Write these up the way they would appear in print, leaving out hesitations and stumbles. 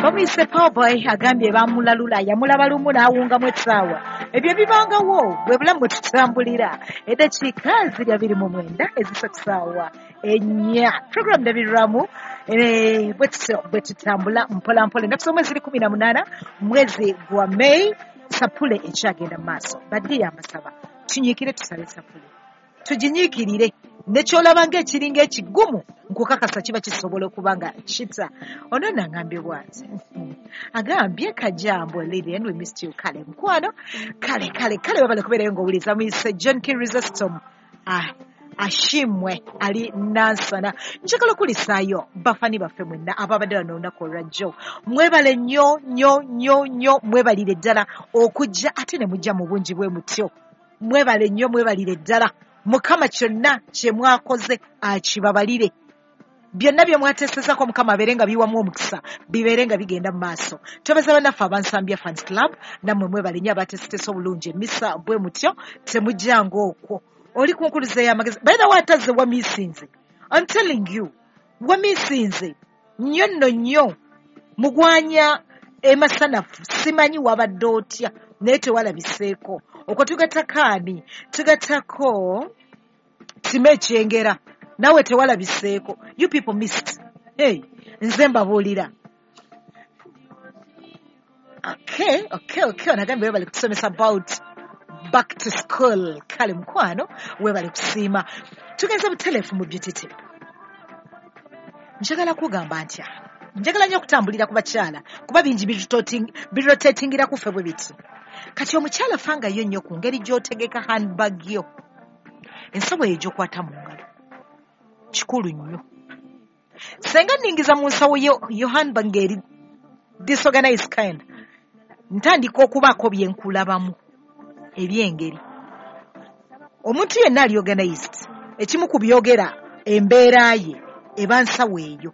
Bamuyise Powerboy, agambye bamulalula, yamulaba lumu n'awungamu essaawa. Ebyo bibangawo, bwe bulamu bwe tutambulira. Eddakiika ziri 29 ezisa ku ssaawa 4. Program Ndabirwamu, bwe tutyo bwe tutambula mpola mpola. Ennaku z'omwezi ziri 18, mwezi gwa May, sapule ekyagenda mu maaso. Badde amasaba tunyiikire, tusabe sapule, tuginyiikirire. Nekyolaba ng'ekiringa ekigumu, nkukakasa kiba kisobola okuba nga kita. Ono nangambye bw'ati, agambye kajambo Lilian, we missed you. Kale mukwano, kale kale kale, webale kubeerayo ng'owuliza. Muyise John Chrysostom Ashimwe ali Nansana. Njagala okulisaayo bafani baffe mwenna ababadde wano olunaku olwajjo. Mwebale nnyo nnyo nnyo nnyo, mwebalire ddala okujja ate ne mujja mu bungi bwe mutyo. Mwebale nnyo, mwebalire ddala. Mukama kyonna kye mwakoze akibabalire. Byonna bye mwateesezako Mukama abeere nga biwamu omukisa, bibeere nga bigenda mu maaso. Twebaza bannaffe abansambya Fans Club, nammwe mwebale nnyo abateeseteese obulungi emisa bwe mutyo, temujjanga okwo. Oli ku nkuluze y'amagezi. By the way, atazze wamiisinze. I'm telling you, wamiisinze nnyo nno nnyo. Mugwanya emasanafu, simanyi wabadde otya, naye tewalabiseeko. Okwo tugattako ani? Tugattako Sima Ekyengera, naawe tewalabiseeko. You people missed. Hey, nze mbabuulira. Okay, okay, okay. Onagambye webale kutusomesa about back to school. Kale mukwano, webale kusiima. Tugenze buteleefu mu beauty tip. Njagala kugamba ntya, njagala nnyo okutambulira ku bakyala, kuba bingi birotatingira ku ffe bwe biti. Kati omukyala fangayo nnyo ku ngeri gy'otegeka handbag yo. Ensawo eyo gy'okwata mu ngalo kikulu nnyo. Senga nningiza mu nsawo yo, yo handbag ng'eri disorganized kind, ntandika okubaako bye nkulabamu eby'engeri. Omuntu yenna ali organized, ekimu ku byogera embeera ye eba nsawo eyo.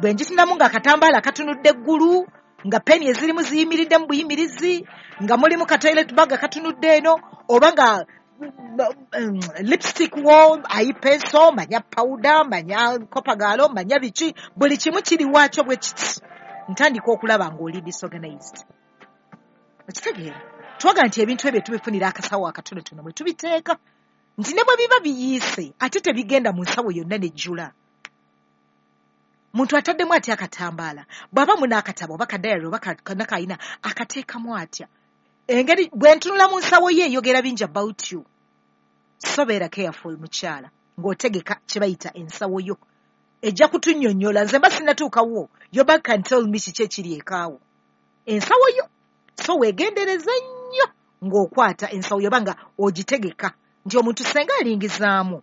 Bwe ngitunamu ng'akatambaala katunudde eggulu, nga peni ezirimu ziyimiridde mu buyimirizi, nga mulimu ka toilet bag akatunudde eno, oba nga lipstick wo, eye pencil, manya powder, manya kopagalo, manya biki, buli kimu kiri waakyo bwe kiti. Ntandika okulaba ng'oli disorganized. Okitegeera? Twaga nti ebintu ebyo tubifunira akasawo akatonotono mwe tubiteeka, nti ne bwe biba biyiise ate tebigenda mu nsawo yonna nejjula. Muntu ataddemu atya akatambaala, bw'aba mu n'akatabo oba kadayari oba nakayina akateekamu atya? Engeri bwe ntunula mu nsawo ye eyogera bingi about you. So beera careful mukyala ng'otegeka kye bayita ensawo yo. Ejja kutunnyonnyola, nze mba sinnatuukawo, your bag can tell me kiki ekiri ekaawo. Ensawo yo. So weegendereze nnyo ng'okwata ensawo yo oba nga ogitegeka nti omuntu senga alingizaamu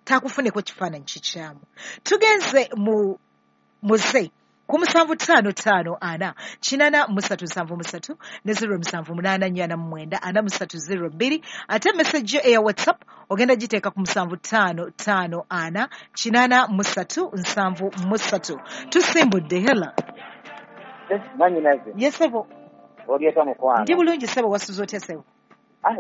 taakufuneko kifaananyi kikyamu. Tugenze mu muze ku 755 4 8 3 73 ne 078 4 9 43 02. Ate message yo eya WhatsApp ogenda giteeka ku 755 4 8 3 73. Tusimbudde. Hela. Manyinaze. Yesebo. Olyeta mukwano. Ndi bulungi sebo, wasuze otya sebo?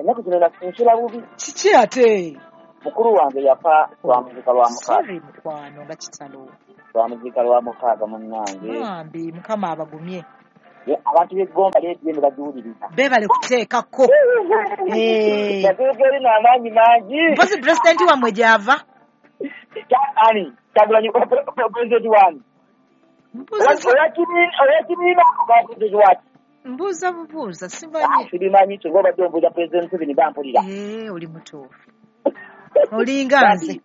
Ennaku zino nsula bubi. Kiki ate? Mukulu wange yafa twamuziika lwa mukaaga. Sorry mukwano, nga kitalo. Twamuziika lwa mukaaga munnange. Bambi Mukama abagumye. Abantu b'eggomba leediyo ne bagiwuliriza. Beebale kuteekako. Yatuuka eri n'amaanyi mangi. Mpozi pulezidenti wammwe gy'ava? Ani? Kyagulanyi pulezidenti wange. Owekibiina oba pulezidenti waki? Mbuuza bubuuza, simanyi. Sibimanyi, kyova obadde ombuuza pulezidenti Museveni bampulira. Oli mutuufu. Olinga nze.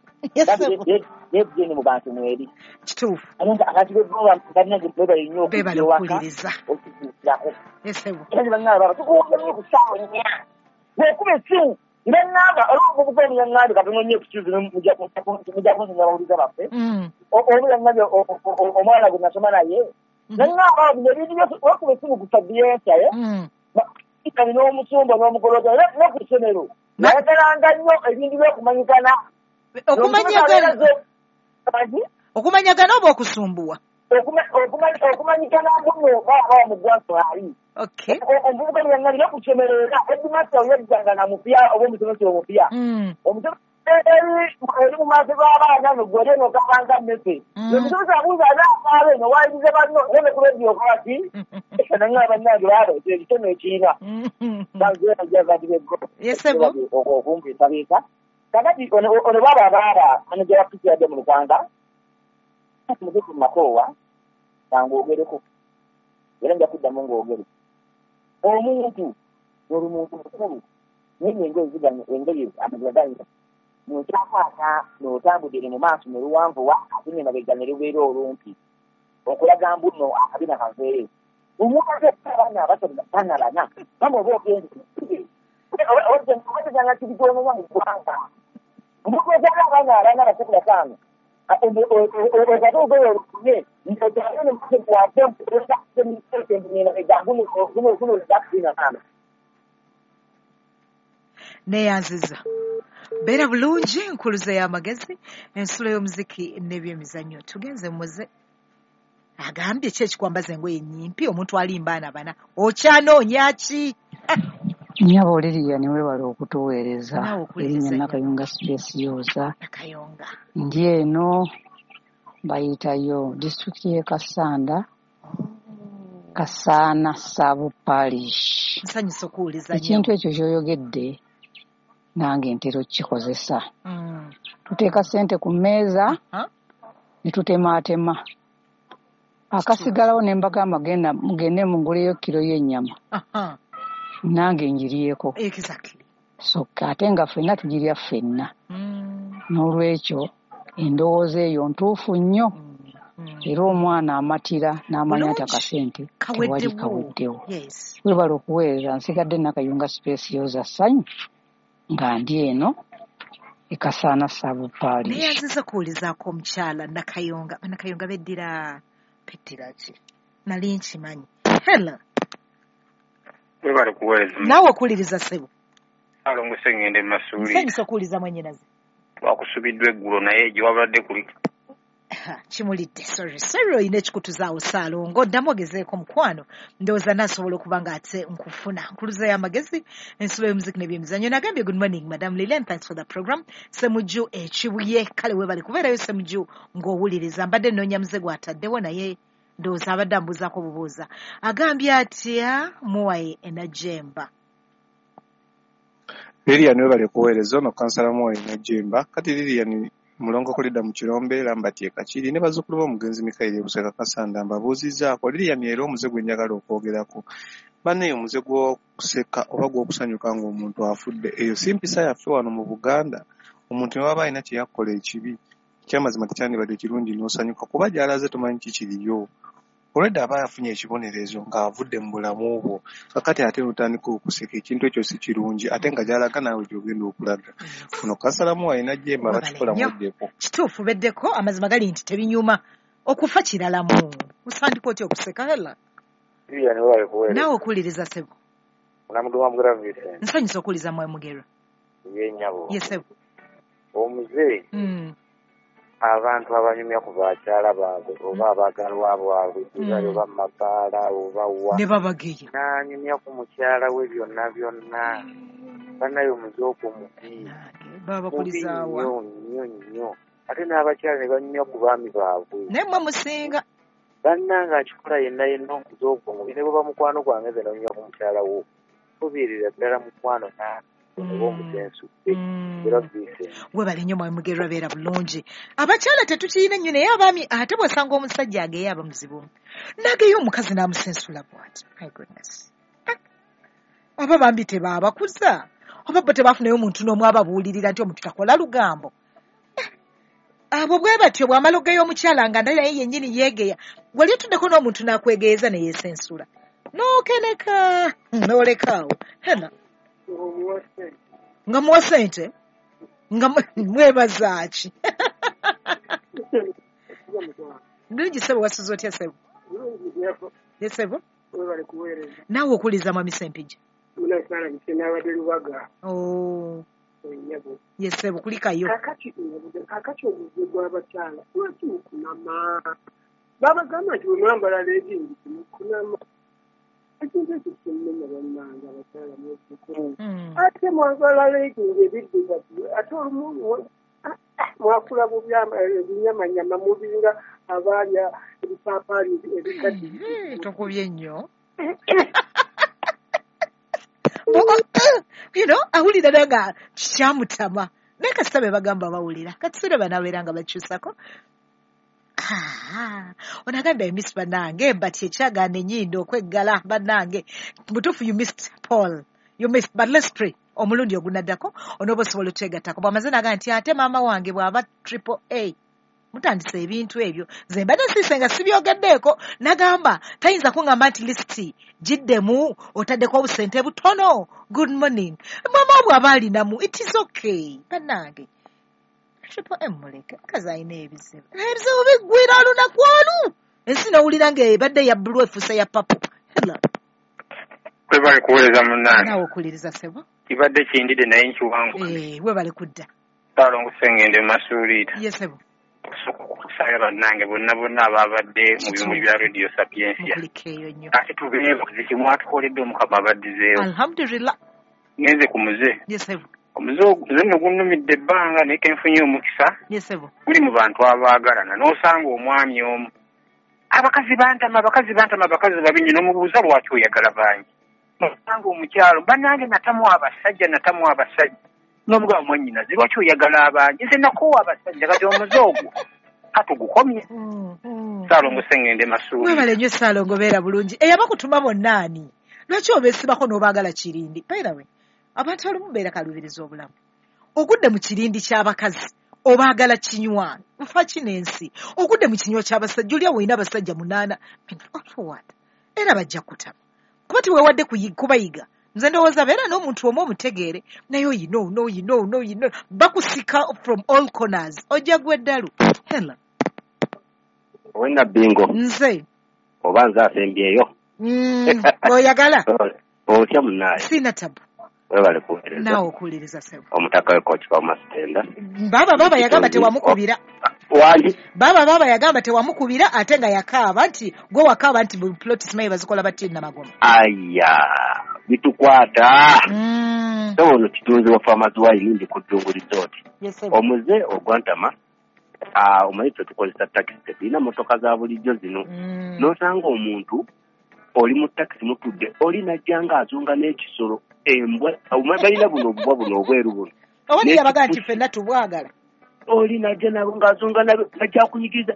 Leediyo mu bantu mweri. Kituufu. Abantu b'eggomba balina beebale nnyo Beebale okujja ewaka okuwuliriza. okutuukirako. Yesebo. Era ne bangamba baba tukuwulira nnyo ku ssaawa 4. Bw'okuba essimu ne ŋŋamba olw'omuvubuka omu yaŋŋambye katono nnyo excuse me, mujja kunsonyiwa abawuliza baffe. Omu yaŋŋambye omwana gwe nasoma naye. Ne ŋŋamba bino ebintu byose wakuba essimu ku Sabiensa, kati n'omusumba n'omukoloto ne ku ssomero. Nayagalanga nnyo ebintu by'okumanyigana. Okumanyagana oba okusumbuwa? Okumanyigana mbuno baaba mu ggwanga ali. Okay. Omuvubuka yaŋŋambye ne ku ssomero era headmaster yajjanga na mupya oba omusomesa omupya. Omusomesa Eri mu maaso g'abaana nogwere n'okabanga mmese. Omutuuze abuuza anaakaaba eno waayirize banno naye ku lediyo okola ki? Nangamba bannange baaba ekitone ekiina. Okumpiisabiisa. Kakati ono baaba abaaba maneja wa PCID mu Lukanga mutuufu Makoowa ng'ogereko era nja kuddamu ng'ogere. Omuntu n'olumuntu mukulu naye engoye ziganye engoye amazima ganyina n'okyakwata n'otambudde mu maaso ne luwanvuwa ate n'emabega ne lubeera olumpi okulaga mbu nno akabina kaveeyo. Omuntu ate abaana abato bana bana bamba oba ogenze obateganga kibigomenya mu ggwanga. Omuntu ozaala abaana abana basatu bataano Neyanziza. Beera bulungi, nkuluze y'amagezi, ensulo y'omuziki n'ebyemizannyo. Tugenze muze. Agambye ki ekikwambaza engoye ennyimpi omuntu alimba abaana bana okyanoonya ki? Nnyabo Lilian weebale okutuweereza. Erinnya Nakayunga Space Yoza. Nakayunga. Ndi eno bayitayo disitulikiti y'e Kassanda, Kasaana Sub Parish. Nsanyusa okuwuliza nnyo. Ekintu ekyo ky'oyogedde nange ntera okukikozesa. Tuteeka ssente ku mmeeza ne tutemaatema. Akasigalawo ne mbagamba mugende muguleyo kiro y'ennyama. Nange ngiryeko. Exactly. So ate nga ffenna tugirya ffenna. N'olwekyo endowooza eyo ntuufu nnyo. Era omwana amatira n'amanya nti akasente tewali kaweddewo. Weebale okuweereza nsigadde Nakayunga Space Yoza ssanyu nga ndi eno e Kasaana Sub Parish. Neyanziza okuwulizaako omukyala Nakayunga. Nakayunga beddira ki? Nali nkimanyi. Hello. Webale kuweereza. Naawe okuwuliriza ssebo. Alongo Ssengendo e Masuuli. Nsanyusa okuwuliza mwannyinaze. Twakusubiddwa eggulo naye gye wabadde kuli. Kimulidde. Sorry olina ekikutuzaawo Ssaalongo. Ddamu ogezeeko mukwano. Ndowooza naasobola okuba nga ate nkufuna. Nkuluza y'amagezi, ensulo y'omuziki n'ebyemizannyo. Nagambye good morning Madam Lilian, thanks for the program. Ssemujju Ekibuye. Kale weebale kubeerayo Ssemujju ng'owuliriza. Mbadde nnoonya muze gw'ataddewo naye ndowooza abadde ambuuzaako bubuuza. Agambye atya Muwaye Enajemba. Lilian webale kuweereza. Ono kansala Muwaye Enajemba. Kati Lilian mulongo kulidda mu Kirombe Lambert e Kakiri ne bazzukulu b'omugenzi Mikaeri e Buseka Kasanda mbabuuzizzaako. Lilian era omuze gwe njagala okwogerako. Bannaye omuze gw'okuseka oba gw'okusanyuka ng'omuntu afudde eyo si mpisa yaffe wano mu Buganda. Omuntu ne waba alina kye yakola ekibi ekyamazima tekyandibadde kirungi n'osanyuka kuba gy'alaze tomanyi kikiriyo. Olwedda aba yafunye ekibonerezo ng'avudde mu bulamu bwo kakati ate n'otandika okuseka ekintu ekyo si kirungi ate nga gy'alaga naawe gy'ogenda okulaga. Ono kansala Muwaye Najjemba bakikola muddeko. Kituufu beddeko amazima gali nti tebinyuma okufa kiralamu. Osandika otya okuseka hela? Naawe okuwuliriza ssebo. Onamuduwa Mugera Vincent. Nsanyusa okuwuliza mwe Mugera. Ye nnyabo. Ye ssebo. Omuze. Abantu abanyumya ku bakyala baabwe oba abaagalwa baabwe bali oba mu mabaala oba wa ne babageya n'anyumya ku mukyala we byonna byonna. Bannaye omuze ogwo mubi babakulizaawa nnyo nnyo nnyo. Ate n'abakyala ne banyumya ku baami baabwe naye mmwe musinga. Bannange akikola yenna yenna omuze ogwo mubi ne bw'oba mukwano gwange nze n'onyumya ku mukyala wo tobeerera ddala mukwano nange. Webale nnyo Mwami Mugerwa, beera bulungi. Abakyala tetukirina nnyo naye abaami ate bw'osanga omusajja ageya aba muzibu. N'ageya omukazi n'amusensula bw'ati. My goodness. Oba bambi tebaabakuza oba bo tebafunayo omuntu n'omu ababuulirira nti omuntu takola lugambo. Abo bwe batyo bw'amala ogeya omukyala nga naye yennyini yeegeya. Wali otuddeko n'omuntu n'akwegeeza ne yeesensula. N'okeneka n'olekaawo. Hena. Nga muwa ssente nga mwebaza ki? Bulungi ssebo, wasuze otya ssebo? Ye ssebo. Naawe okuwuliza Mwami Ssempijja. Ye ssebo, kulikayo. Kakati omuze gw'abakyala lwaki mukunama? Babagamba nti bwe mwambala leggings mukunama. Ekintu ekyo kimmenya bannange abakyala mwejjuko. Ate mwagala leeginga ebiddugavu, ate olumu mwakula bubi ebinyamanyama mubinga abaalya ebipaapaali ebikadde. Tokubye nnyo. You know, awulira naye nga kyamutama. Naye kasita be bagamba bawulira. Kati banabeera nga bakyusako. Ono agambye I miss bannange, but ekyagaana ennyindo okweggala bannange. Mutuufu you missed Paul. You missed, but let's pray. Omulundi ogunaddako onooba osobola otwegattako. Bw'amaze n'agamba nti ate maama wange bw'aba triple A. Mutandise ebintu ebyo. Nze mbadde nsiise nga sibyogeddeeko. N'agamba tayinza kuŋŋamba nti lisiti giddemu otaddeko obusente butono. Good morning. Maama wo bw'aba alinamu, it is okay. Bannange. Triple M muleke, mukazi alina ebizibu. Ebizibu biggwira olunaku olu. Ensi n'owulira ng'ebadde ya bbulu efuuse ya papo. Hello. Webale kuweereza munnange. Naawe okuwuliriza ssebo. Kibadde kindidde naye nkiwanguka. Webale kudda. Ssaalongo Ssengendo Masuuliita. Ye ssebo. Okusooka okusaayo bannange bonna bonna ababadde mu bimuli bya Radio Sapientia. Mukulikeeyo nnyo. Ate tubeebaze kye mwatukoledde Omukama abaddizeewo. Alhamdulillah. Ngenze ku muze. Ye ssebo. Omuze nno gunnumidde ebbanga naye ke nfunye omukisa. Ye ssebo. Guli mu bantu abaagalana n'osanga omwami omu. Abakazi bantama, abakazi bantama, abakazi babi nnyo n'omubuuza lwaki oyagala bangi. Osanga omukyalo bannange natamu abasajja natamu abasajja. N'omugamba mwannyinaze lwaki oyagala abangi? Nze nakoowa abasajja kati omuze ogwo katugukomye. Ssaalongo Ssengendo Masuuli. Webale nnyo Ssaalongo, beera bulungi. Eyabakutuma bonna ani? Lwaki obeesibako n'obaagala kirindi? By the way, abantu abamu beera kaluubiriza obulamu. Ogudde mu kirindi ky'abakazi obaagala kinywa. Nfa ki n'ensi? Ogudde mu kinywa ky'abasajja oli awo olina abasajja 8. What? Era bajja kutama. Kuba teweewadde kubayiga. Nze ndowooza beera n'omuntu omu omutegeere naye oyino oyino bakusika from all corners. Ojja gwa eddalu. Hello. Owena bingo. Nze. Oba nze asembyeyo. Oyagala? Otya munnaye? Sina tabu. Webale kuweereza. Naawe okuwuliriza ssebo. Omutaka we Coach Masitenda. Baba yagamba tewamukubira. Wangi? Baba yagamba tewamukubira ate nga yakaaba nti gwe wakaaba nti plot simanyi bazikola bati Namagoma. Aya, bitukwata. So ono kitunzi wa Farmers Wine ndi ku Ddungu Resort. Yes, omuze ogwantama omanyi ffe tukozesa takisi tetulina mmotoka za bulijjo zino. N'osanga omuntu oli mu takisi mutudde oli najja ng'azunga n'ekisolo embwa balina buno obubwa buno obweru buno. Oba niyabaga nti ffenna tubwagala. Oli najja nabo ng'azunga najja akunyigiriza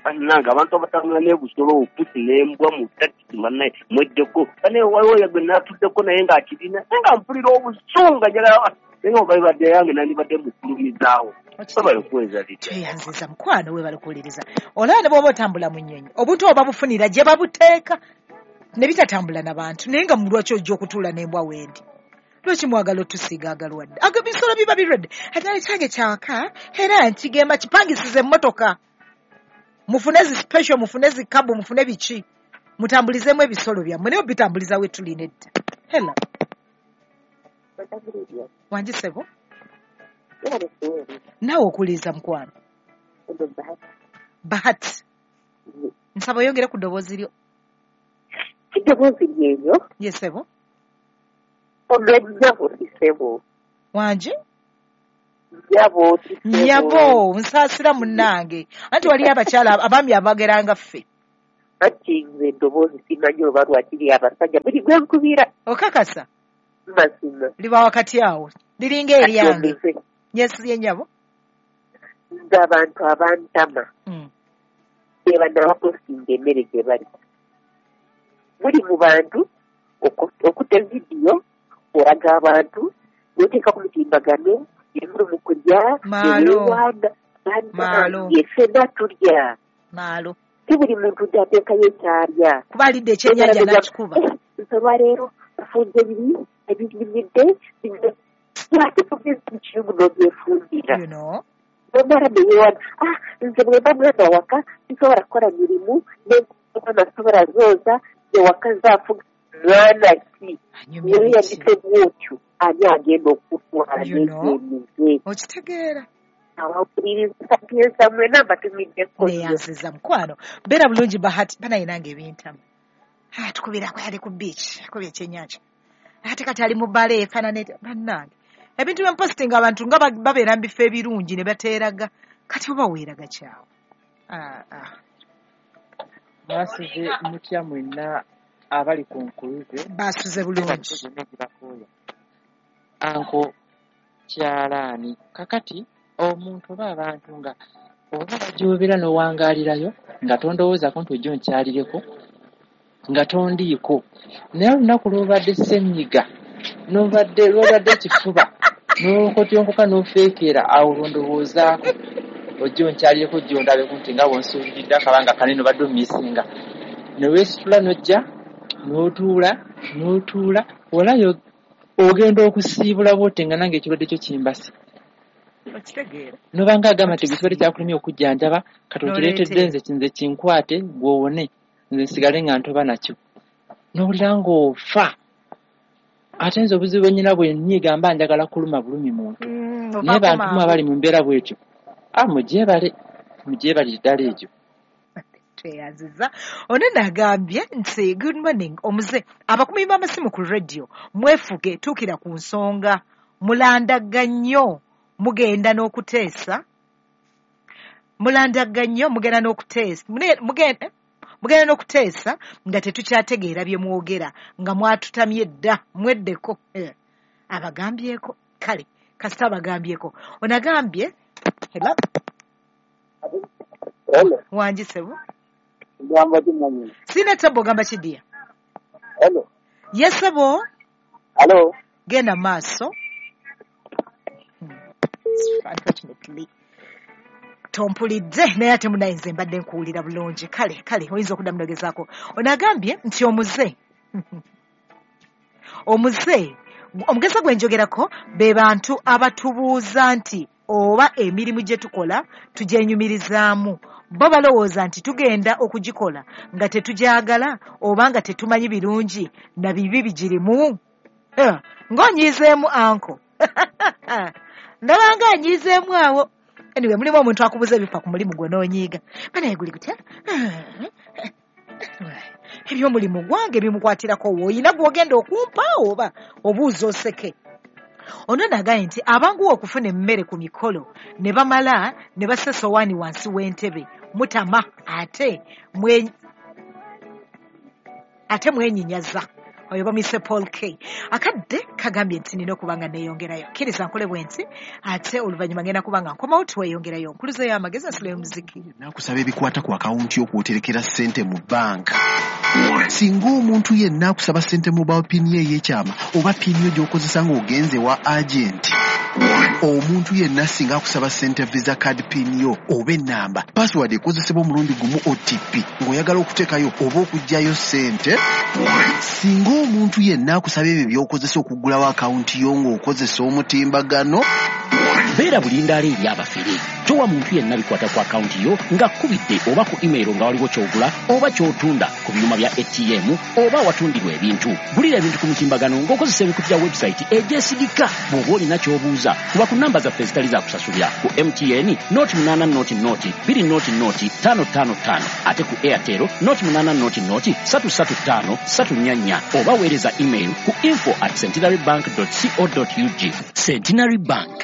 bannange abantu abatambula n'ebusolo obupusi n'embwa mu takisi bannaye mweddeko bannaye waliwo gwe naatuddeko naye ng'akirina naye nga mpulira obusunga njagala naye oba bibadde yange nandibadde mukulumizaawo. Webale kuweereza litya. Tweyanziza mukwano, webale kuwuliriza. Olaba ne bw'oba otambula mu nnyonyi obuntu oba bufunira gye babuteeka ne bitatambula n'abantu naye nga lwaki ojja okutuula n'embwa wendi? Lwaki mwagala otusiiga agalwadde? Ago ebisolo biba birwadde. Ate ekyange kyaka era nkigema kipangisize emmotoka. Mufune zi special, mufune zi kabu, mufune biki. Mutambulizeemu ebisolo byammwe naye obitambuliza we tuli nedda. Hello. Wangi ssebo? Naawe okuwuliriza mukwano. Bahati. Nsaba oyongere ku ddoboozi lyo. Eddoboozi lyeryo? Ye ssebo. Ono nnyabo ssebo. Wangi? Nnyabo ssebo. Nnyabo, nsaasira munnange. Anti waliyo abakyala abaami abageranga ffe. Anti nze eddoboozi simanyi oba lwaki abasajja buli gwe nkubira. Okakasa? Mazima. Liba wakati awo. Liringa eryange. Yes, ye nnyabo. Nze abantu abantama. Be banaabapostinga emmere gye balya. Muli mu bantu okute vidiyo olaga abantu n'oteeka ku mutimbagano emuli mu kulya eweewaana bannange ffenna tulya. Maalo. Si buli muntu nti ateekayo ekyalya. Kuba alidde ekyennyanja n'akikuba. Nze olwaleero nfunze biri ebinyumidde lwaki tugeze mu kiyungu n'obyefumbira. Nomala neyeewaana nze bwe mba mwana waka sisobola kukola mirimu n'omwana sobola zooza ewaka nzaafuga mwana ki weeyandise bwotyo ani agenda okutwala n'ebyemize. Okitegeera. Abawuliriza Sapientia mwena mbatumiddeko. Neyanziza mukwano. Beera bulungi Bahati banaye nange ebintama. Tukubirako ali ku beach, akubye ekyennyanja, ate kati ali mu bbaala efaanana bannange. Ebintu byempositinga abantu nga babeera mu bifo ebirungi ne bateeraga, kati oba weeraga kyawo. Mwasuze mutya mwenna abali ku nkuluze? Basuze bulungi. Anko kyalaani kakati omuntu oba abantu nga oba bajoobera n'owangaalirayo nga tondowoozaako nti ojja onkyalireko nga tondiiko, naye olunaku lw'obadde ssenyiga lw'obadde ekifuba n'okotyonkoka n'ofeekeera awo lwondowoozaako ojja onkyalireko ojja ondabeko nti nga bw'onsuubiridde akabanga kanene obadde omiisinga, ne weesitula n'ojja n'otuula n'otuula olayo ogenda okusiibula bw'ote nga nange ekirwadde kyo kimbase. Nobanga agamba nti ekirwadde kyakulemye okujjanjaba kati okireetedde nze kinkwate gw'owone nze nsigale nga ntoba nakyo, n'owulira ng'ofa. Ate nze obuzibu bwe nnyina bwe nnyiga mba njagala kuluma bulumi muntu, naye bantu mu abali mu mbeera bw'etyo mugyebale mugyebalire ddala egyo. Tweyanziza. Ono nagambye nti good morning omuze, abakumi b'amasimu ku radio mwefuge, tuukira ku nsonga, mulandaga nnyo mugenda n'okuteesa, mulandaga nnyo mugenda n'okuteesa, mugenda n'okuteesa nga tetukyategeera bye mwogera, nga mwatutamye dda, mweddeko. Abagambyeko kale kasita abagambyeko. Ono agambye hello wangi sebo. Sina tabo ogamba kidiya. Hello. Yes sebo. Hello. Genda maaso. Unfortunately tompulidde naye ate munaye nze mbadde nkuwulira bulungi. Kale kale oyinza okuddamu n'ogezaako. Ono agambye nti omuze omugeza gwe njogerako be bantu abatubuuza nti oba emirimu gye tukola tugyenyumirizaamu, bo balowooza nti tugenda okugikola nga tetugyagala oba nga tetumanyi birungi na bibi bigirimu. Ng'onyiizeemu anko ndaba nga anyiizeemu awo. Anyway, mulimu omuntu akubuza ebifa ku mulimu gwo n'onyiiga, banaye guli gutya ebyomulimu gwange bimukwatirako woyina gw'ogenda okumpa oba obuuza oseke. Ono nagambye nti abanguwa okufuna emmere ku mikolo ne bamala ne bassa essowaani wansi w'entebe mutama ate mwenyinyaza. Oyo bamuyise Paul K. Akadde kagambye nti nina okuba nga neeyongerayo, kkiriza nkole bwe nti ate oluvannyuma ngenda kuba nga nkomawo tweyongerayo. Nkuluze y'amagezi ensula y'omuziki. Nakusaba ebikwata ku akawunti y'okwoterekera ssente mu bbanka. Singa omuntu yenna akusaba ssente mobile pin ye ey'ekyama oba pin yo gy'okozesa ng'ogenze wa agenti, omuntu yenna singa akusaba ssente visa card pin yo oba ennamba, password ekozesebwa omulundi gumu OTP ng'oyagala okuteekayo oba okuggyayo ssente, singa omuntu yenna akusaba ebyo by'okozesa okuggulawo akawunti yo ng'okozesa omutimbagano, beera bulindaala eri abafere. Towa muntu yenna bikwata ku akawunti yo ng'akkubidde oba ku email nga waliwo ky'ogula oba ky'otunda ku byuma bya ATM oba awatundirwa ebintu. Gulira ebintu ku mutimbagano ng'okozesa emikutu gya website egyesigika. Bw'oba olina ky'obuuza kuba ku namba zaffe ezitali za kusasulira ku MTN 0800 0 0 555 ate ku Airtel 0800 335 344 oba weereza email ku info@centenarybank.co.ug. Centenary Bank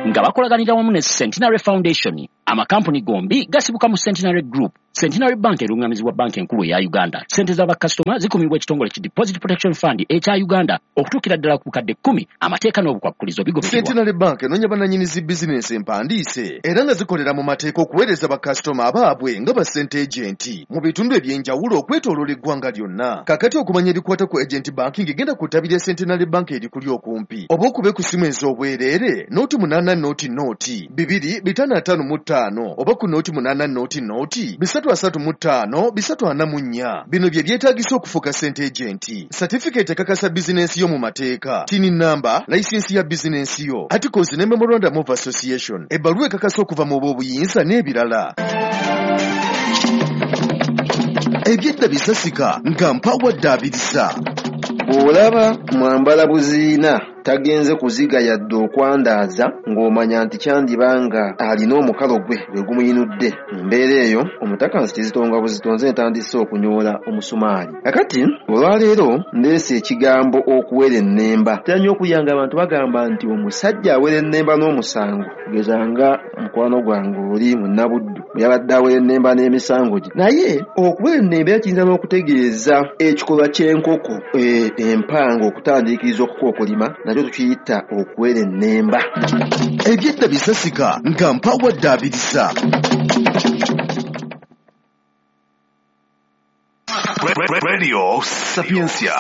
nga bakolaganira wamu ne Centenary Foundation. Amakampuni gombi gasibuka mu Centenary Group. Centenary Bank erungamizibwa banka enkulu eya Uganda. Ssente z'abakasitoma zikumibwa ekitongole ki Deposit Protection Fund ekya Uganda okutuukira ddala ku bukadde 10. Amateeka n'obukwakulizo bigobererwa. Centenary Bank enoonya bannannyini zi bizinensi empandiise era nga zikolera mu mateeka okuweereza bakasitoma abaabwe nga ba ssente agenti mu bitundu eby'enjawulo okwetooloola eggwanga lyonna. Kakati okumanya ebikwata ku agent banking genda ku ttabi lya Centenary Bank erikuli okumpi oba okube ku ssimu ez'obwereere 0800 0 2 555 oba ku 0800 0 335 344. Bino bye byetaagisa okufuuka ssente agenti: certificate ekakasa bizinensi yo mu mateeka, TIN number, layisinsi ya bizinensi yo, articles ne memorandum of association, ebbaluwa ekakasa okuva mu b'obuyinza n'ebirala. Ebyedda bisasika nga mpawadde abirisa. Bw'olaba mwambala buziina. Tagenze kuziga yadde okwandaaza, ng'omanya nti kyandiba nga alina omukalo gwe gwe gumuyinudde. Mu mbeera eyo omutakansi kizitonga buzitonze ntandise okunyoola omusumaali. Kakati olwaleero ndeese ekigambo okuwera ennemba. Ntera nnyo okuyanga abantu bagamba nti omusajja awera ennemba n'omusango, kugeza nga mukwano gwange oli munnabuddu bwe yabadde awera ennemba n'emisango gye. Naye okuwera ennemba era kiyinza n'okutegeeza ekikolwa ky'enkoko empanga okutandiikiriza okukookolima, nakyo tukiyita okuwera ennemba. Ebyedda bisasika nga mpawadde abirisa. Radio Sapientia.